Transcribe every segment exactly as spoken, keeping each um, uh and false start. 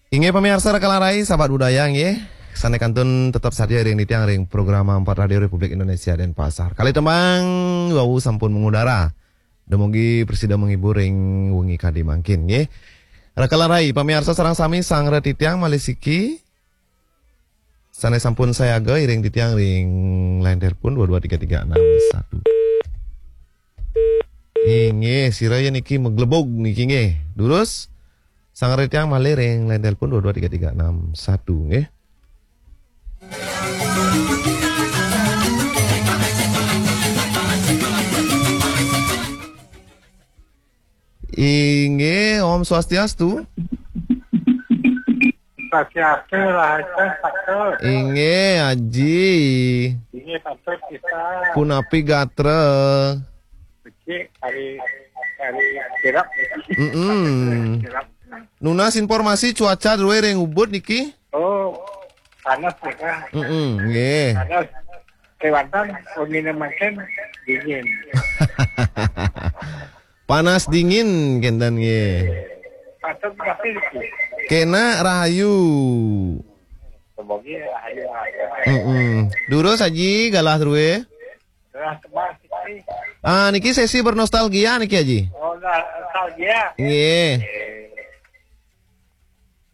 Inggih pamiarsa Rakalan Rai, sahabat budaya nggih. Sané kantun tetep satia ring titiang ring program empat Radio Republik Indonesia Denpasar. Kalih tembang wau sampun mengudara. Dumugi prasida menghibur ring wengi kadi mangkin nggih. Rakalan Rai, pamiarsa sareng sami, sareng titiang malih siki sané sampun sayaga iring titiang ring line telepon dua dua tiga tiga enam satu. Inggih, sira ya niki meglebug niki nggih. Durus, sareng titiang malih ring line telepon dua dua tiga tiga enam satu nggih. Inggih, Om Swastiastu. Swastiastu, Rahayu, Patut. Inggih, Aji. Inggih, Patut kita. Punapi gatra? Becik, hari, hari kirap. Mm-mm. Kirap. Nunas informasi cuaca drué ring Ubud niki? Oh, panas ya, Kak. Mm-mm, nggih. Panas. Kéwanten, wenginé mangkin dingin. Panas dingin kénten nggih. Patut tapi iki. Kena rahayu. Semoga rahayu aja. Mm-mm. Durus Aji, galah drué. Galah tebas iki. Ah, niki sesi bernostalgia niki, Aji. Oh, nostalgia. Nggih.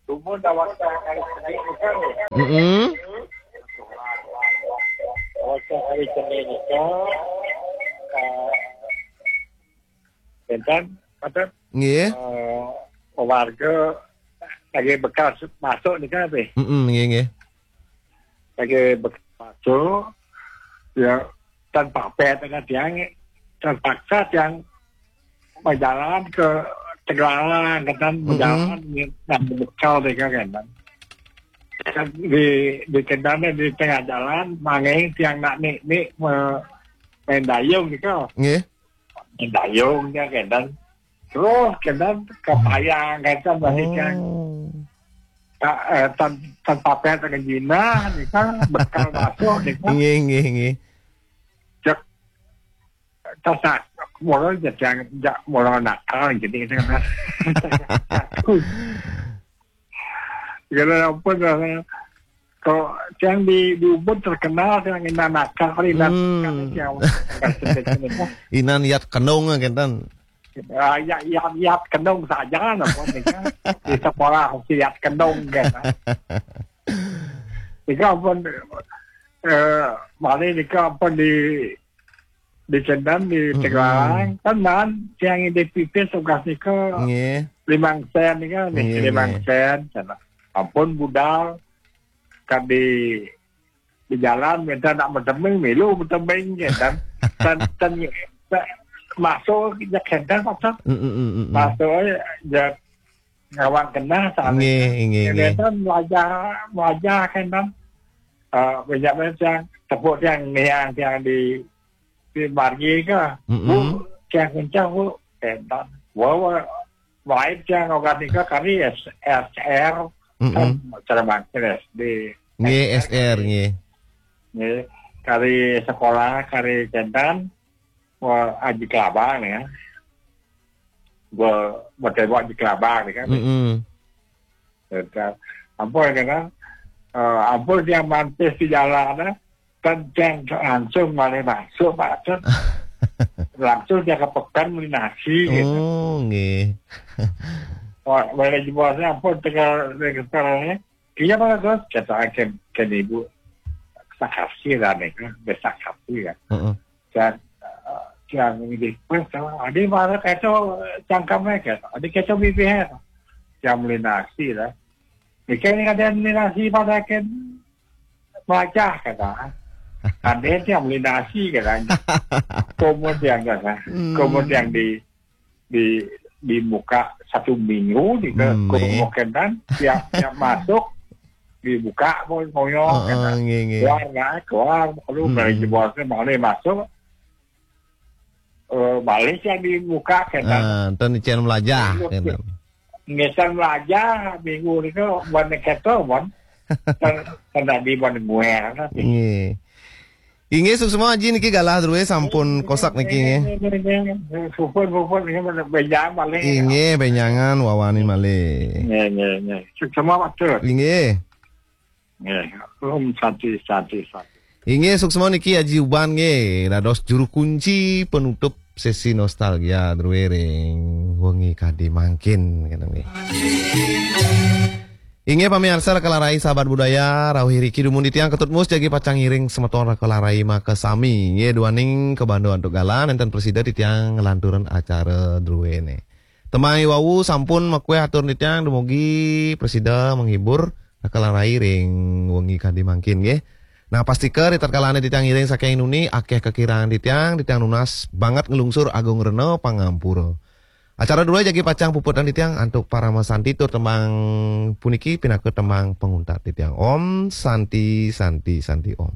Subuh dah waktu hari Senin itu. Mm-mm. Waktu hari Senin itu, eh, Enten, apa? Nggih. Eh, warga lagi bekas masuk nih kan, Pi? Mm-mm, nggih, nggih. Lagi bekas masuk, ya, tanpa pet dengan tiang, terpaksa tiang berjalan ke Tegalalang, kan, mm-mm, berjalan dengan bekal mereka, kan. Kan di, di kendana di tengah jalan, mangeng tiang nak nik-nik me-, main dayung gitu. Nggih. Main dayung dia, kan. Terus, kan, ke payang, kan, balik, kan. Oh. Ta-, eh, tan-, tanpa pet dengan Cina, nih, kan, bekal masuk, nih, kan. Nggih, nggih, nggih. Cek, tasak, mula jejang, jak, mula nakal, jadi, gitu, kan. Kalau apa, kalau tiang di, di Ubud terkenal tiang inan nakal, inan, hmm, nakal, tiang. Inan yat kendong, kénten. Ah, ya, ya, yat kendong saja, apa nih, kan? Di sekolah si yat kendong, kan? Tiga pun, eh, malih nika pun di, di Cendan, di, mm-mm, Tegalalang, tenan, tiang di pipis tugas nika, nggih, limang sen nika, nih, nggih, limang, nggih, sen, sana. Ampun budal, kan di, di jalan, minta nak bertembing, milu bertembing, ya, kan? Dan, dan, dan masuk, ya, kan, masuk. Mm, mm, mm, mm, mm. Masuk, ya, ngawang kenah, sana. Nggih, nggih, nggih. Kan belajar, belajar, kan, kan? Eh, banyak macam, tepuk tiang, niang, tiang di, di margi ke. Mm-mm. Bu, tiang kencang, Bu. Kan, kan? Wah, wah, lain tiang, orang nika kami S-, S R, mm-mm, kan, cara makin S D. Nggih, S R, nggih. Nggih, kari sekolah, kari Cendan, wah, Aji Kelabang, ya. Gua, gua tembok Aji Kelabang, nih, kan. Mm-mm. Ya, kan. Ampun, ya, kan. Eh, ampun, dia mantis di jalan, eh. Kan, kan langsung malih masuk, Pak. Langsung dia ke pekan beli nasi, gitu. Oh, nggih. Wah, boleh jebosnya, ampun, tegal registernya. Iya, Pak Agus, kata agen, kan ibu. Sakasi lah, nih, kan. Besakasi, kan. Heeh. Dan, eh, yang di pos, adi mana kata cangkemnya, kata. Adi kata bibir. Yang beli nasi, lah. Nika ini ada beli nasi pada agen. Melajah, kata. Ada yang beli nasi, kata. Kemudian, kata. Hmm. Kemudian di, di, di muka satu minggu, di ke, hmm, ke, eh, rumah kenan, tiap, tiap masuk, dibuka, pun ngoyo, heeh, kata. Nggih, nggih. Keluar, nggak, keluar, lalu, hmm, dari jebosnya, mau nih masuk, eh, balik yang dibuka, kata. Ah, ten icen melajah, kata. Ngesan melajah, minggu itu, buat neketo, buat. Ten, ten tadi buat nguer, kata. Nggih. Inggih, suksma Aji niki galah drué sampun kosak niki nggih. Puput-puput ini benjang paling. Inggih, benjangan wawani malih. Nggih, nggih, nggih. Suksma Pak Tut. Inggih. Nggih. Om Santi, Santi, Santi. Inggih, suksma niki Aji Uban nggih, dados juru kunci penutup sesi nostalgia drué ring wengi kadi mangkin kene nggih. Inggih pamiarsa Raka Larai sahabat budaya, rauh iriki dumun titiang Ketut Mus jagi pacang ngiring semeton Raka Larai makasami. Inggih duaning kabanda antuk galah nénten prasida titiang nglanturang acara druéné. Tembang wau sampun makuéh atur titiang, dumugi prasida menghibur Raka Larai ring wengi kadi mangkin nggih. Nah, pastika ritatkalané titiang ngiring saking nuni akéh kakirangan titiang, titiang nunas banget nglungsur agung rena pangampura. Acara drué jagi pacang puputang titiang antuk parama santi tur tembang puniki pinaka tembang panguntat titiang. Om Santi, Santi, Santi Om.